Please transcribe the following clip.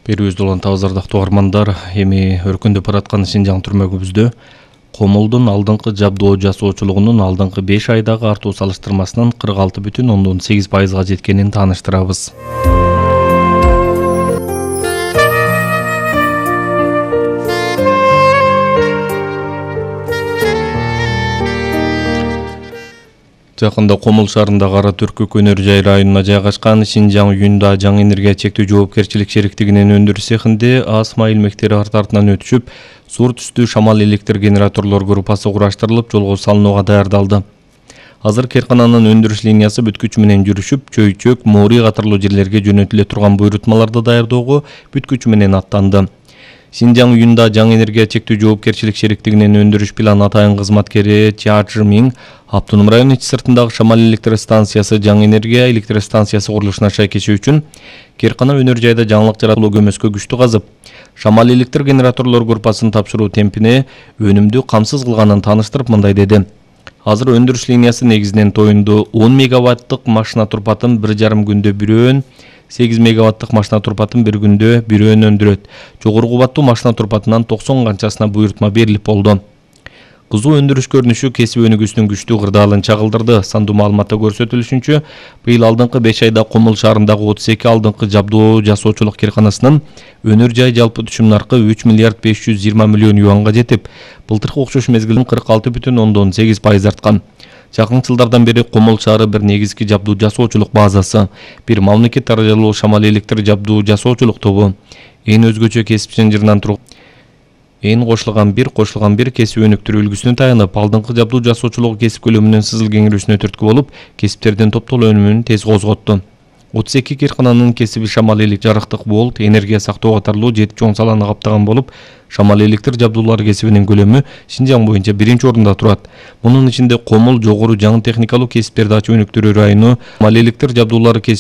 Берүүбүздү улантабыз ардактуу угармандар. Эми өркүндөп бараткан Синжаң түрмөгүбүздө комулдун алдыңкы жабдоо жасоочулугунун алдыңкы 5 айдагы артуу салыштырмасынан 46,8%га жеткенин тааныштырабыз. Жакында Комул шаарындагы Кара Түркүк өнөр жай районуна жайгашкан Синжаң Юнда жаңы энергия чектөө жоопкерчилик шериктигинин өндүрүш цехинде АСМА илмектери арты-артынан өтүшүп, сур түстүү шамал электр генераторлор группасы кураштырылып, жолго салынууга даярдалды. Азыр керкананын өндүрүш линиясы бүткүч менен жүрүшүп, Чөйчөк, Моори катарлуу жерлерге жөнөтүлө турган буйрутмаларды даярдоого бүткүч менен аттанды. Синжаң Юнда жаңы энергия чектөө жоопкерчилик шериктигинин өндүрүш план атайын кызматкери Чажы Миң Автоном район ичи сыртындагы шамал электростанциясы жаңы энергия электростанциясы курулушуна шайкеши үчүн Керкана өнөр жайда жаңылык жаратуу көмөскө күчтүү казып, шамал электр генераторлор группасын тапшыруу темпине өнүмдү камсыз кылганын тааныштырып мындай деди. Азыр өндүрүш линиясы негизинен тоюнду 10 мегаваттык машина турпатын 1,5 күндө бирөөн, 8 мегаваттык машина турпатын bir күндө бирөөн өндүрөт. Жогору кубаттуу машина турпатынан 90 канчасына буйрутма берилип болду. Кызуу өндүрүш көрүнүшү кесип өнүгүүсүнүн күчтүү кырдаалын чагылдырды. Сандуу маалыматта көрсөтүлүшүнчө, быйыл алдыңкы 5 айда Комул шаарындагы 32 алдыңкы жабдоо жасоочулук керканасынын өнөр жай жалпы түшүм наркы 3 миллиард 520 миллион юанга жетип, былтыркы окшош мезгилден 46,8% арткан. Жакын жылдардан бери Комул шаары бир негизги жабдуу жасоочулук базасы, бир мамлекет даражалуу шамал электр жабдуу жасоочулук тобу, эң өзгөчө кесипчен жырынан туруп, эң кошулган бир кесип өнүктүрүү үлгүсүнө таянып, алдыңкы жабдуу жасоочулугу кесип көлөмүнүн сызыл кеңирүүсүнө түрткү болуп, кесиптердин топтолуу өнүмүн тез козготту. 32 керкананын кесиби шамал электр, жарыктык, болт, энергия сактоо катарлуу 7 чоң саланы каптаган болуп, шамал электр жабдуулары кесибинин көлөмү Синжаң боюнча 1-орунда турат. Мунун ичинде Комул жогору жаңы техникалуу кесиптерди ачып өнүктүрүү району, шамал электр жабдуулары кесип